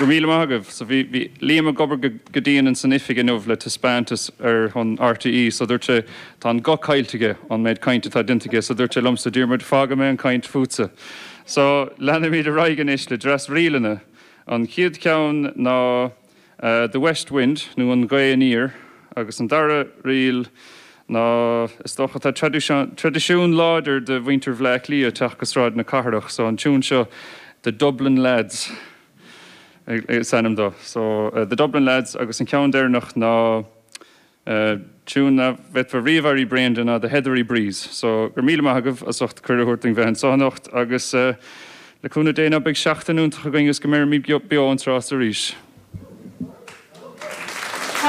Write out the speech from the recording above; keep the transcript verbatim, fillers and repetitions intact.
Go míle maith agaibh, so bhí bhí Liam ag obair go dian san oifig inniu le taispeántas ar an RTE, so dúirt sé tá an guth caillte aige an méid cainte atá déanta aige, so dúirt sé liomsa Diarmuid fágfaidh mé an caint fútsa. So leanfaimid ar aghaidh anois le dreas-ríleanna. An chéad cheann ná uh, The West Wind nó an Ghaoth Aniar agus an dara ríl ná is dócha tá traidisiún láidir de mhuintir Bhaile Átha Cliath teacht go Sráid na Cathrach, so an tiún seo The Dublin Lads. is ainm dó. So uh, the Dublin Lads agus an ceann deireanach ná uh, tiún a bheith ríomhairí Brendan ná the Heathery Breeze. So gur míle maith agaibh as ucht cuireadh a thabhairt dúinn bheith anseo anocht agus uh, le cúnamh Dé beidh seachtain iontach againn agus go mbeimid beo an tráth arís.